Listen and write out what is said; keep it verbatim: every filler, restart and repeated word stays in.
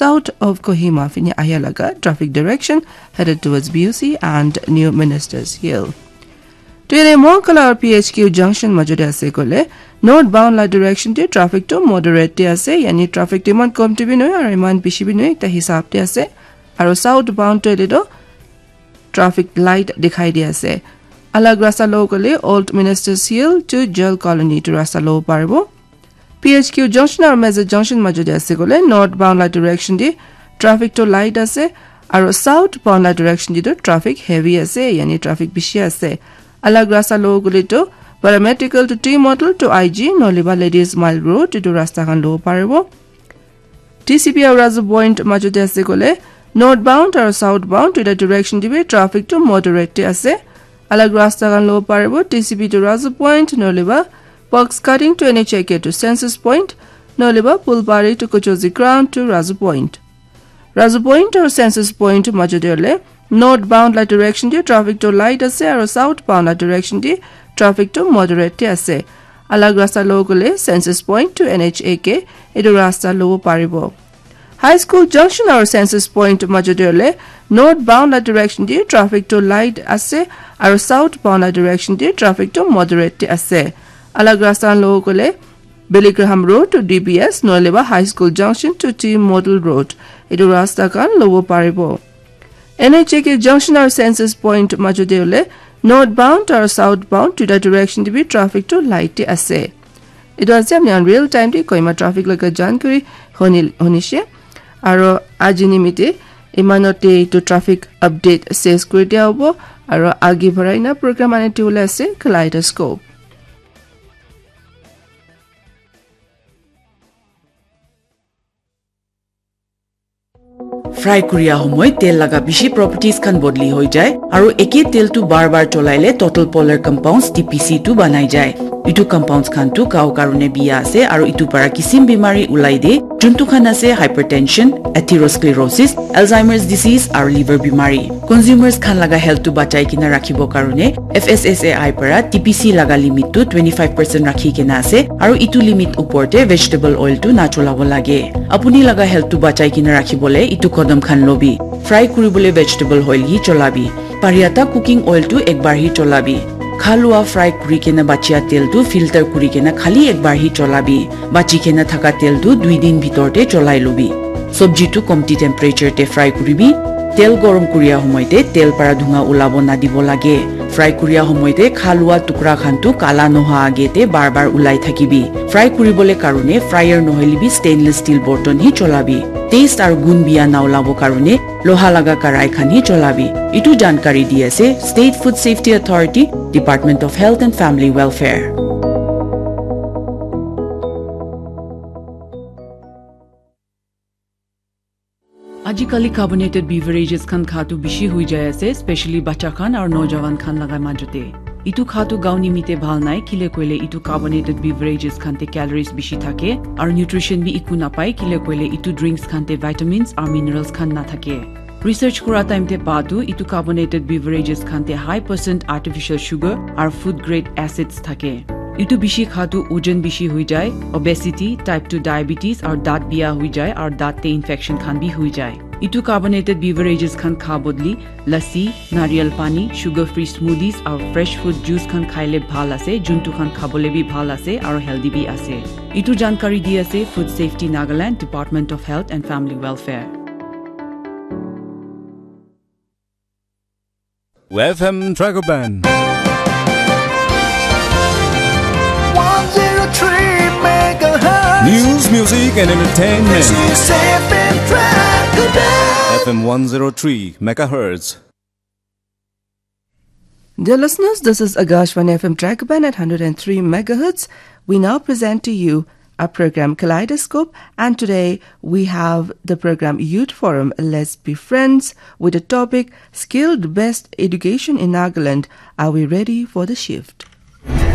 south of Kohima fini ahia laga traffic direction headed towards B O C and New Ministers Hill. Tere Monkala aru P H Q junction majode ase kole northbound la direction te traffic to moderate te ase, yani traffic to iman kom te bi nohoi aru iman bishi bi nohoi, ekta hisab te ase. Aru southbound to ele to traffic light dikhai di ase. Alag rasta lo kole Old Ministers Hill to Jail Colony to rasta lo paribo. P H Q junction aru Meza junction majode ase kole northbound la direction di traffic to light ase, aru southbound la direction di to traffic heavy ase, yani traffic bishi ase. Alag rasta lo kole to Paramedical to T Model to I G noliba Ladies Mile Road itu rasta khan lo paribo. T C B aru Razu Point majode ase kole northbound aru southbound duita direction di bi traffic to moderate te ase. Alag rasta khan lo paribo T C B to Razu Point noliba box cutting to N H A K to Census Point noliba Pulbari to Kuchozi Ground to Razu Point. Razu Point aru Census Point majode ole northbound la direction di traffic to light ase aru southbound la direction di traffic to moderate te ase. Alag rasta lo kole Census Point to N H A K itu rasta lo paribo. High School junction aru Census Point majode ole northbound la direction di traffic to light ase aru southbound la direction di traffic to moderate te ase. Alag rasta lo kole Billy Graham Road to D B S noliba High School junction to T Model Road itu rasta khan lo paribo. N H A K junction aru Census Point majode ole northbound aru southbound duita direction di bi traffic to light te ase. Itu ase apni khan real time te Kohima traffic laga jankari honi honishe. Aru aji nimite imanote itu traffic update ses kuri dia hobo. Aru agi barai na program ani tu ase Kaleidoscope. Fry kuria homoi tel laga bishi properties khan bodli hoi jai, aru eke tel tu bar bar cholai le total polar compounds T P C tu banai jai. Itu compounds khan tu cow karone biya ase, aru itu para kisim bimari ulai de, juntu khan ase hypertension, atherosclerosis, Alzheimer's disease, aru liver bimari. Consumers khan laga health tu bachai kena rakhibo karone F S S A I para T P C laga limit tu twenty five percent rakhi kena ase, aru itu limit upor te vegetable oil tu na cholabo lage. Apuni laga health tu bachai kena rakhibole itu kodom khan lobi. Fry kuribole vegetable oil hi cholabi. Pariata cooking oil tu ekbar hi cholabi. Khalua fry kuri kena bachia tel tu filter kuri kena khali ekbar hi cholabi. Bachi kena thaka tel tu dui din bhitor te cholai lobi. Sobji tu komti temperature te fry kuribi. Tel gorom kuria homoi te tel para dhunga ulabo nadibo lage. Fry kuria homoi te khalua tukra khan tu kala noha age te bar bar ulai thakibi. Fry kuribole karone fryer nohoile bi stainless steel borton hi cholabi. Taste aru gun biya na ulabo karone loha laga karai khan hi cholabi. Itu jankari di ase State Food Safety Authority, Department of Health and Family Welfare. Ajikali carbonated beverages khan kha tu bishi hui jai ase, especially bacha khan aru nojawan khan laga majute. Itu kha tu gaon nimite bhal nai, kile koile itu carbonated beverages khan te calories bishi thake, aru nutrition bi iku napai, kile koile itu drinks khan te vitamins aru minerals khan na thake. Research kura time te pa tu itu carbonated beverages khan te high percent artificial sugar aru food grade acids thake. Itu bishi kha tu ojon bishi hui jai, obesity, type two diabetes, aru daat biya hui jai, aru daat te infection khan bi hui jai. Itu carbonated beverages khan kha bodli lassi, nariyal pani, sugar free smoothies, aru fresh fruit juice khan khaile bhal ase, juntu khan khabole bi bhal ase, aru healthy bi ase. Itu jankari di ase Food Safety Nagaland, Department of Health and Family Welfare. F M Dragon Band. One zero three megahertz. News, music, and entertainment. This is F M Dragon Band. F M one zero three megahertz. Dear listeners, this is Akashvani F M Dragon Band at hundred and three megahertz. We now present to you our program Kaleidoscope, and today we have the program Youth Forum, Let's Be Friends, with the topic Skilled Best Education in Nagaland. Are we ready for the shift?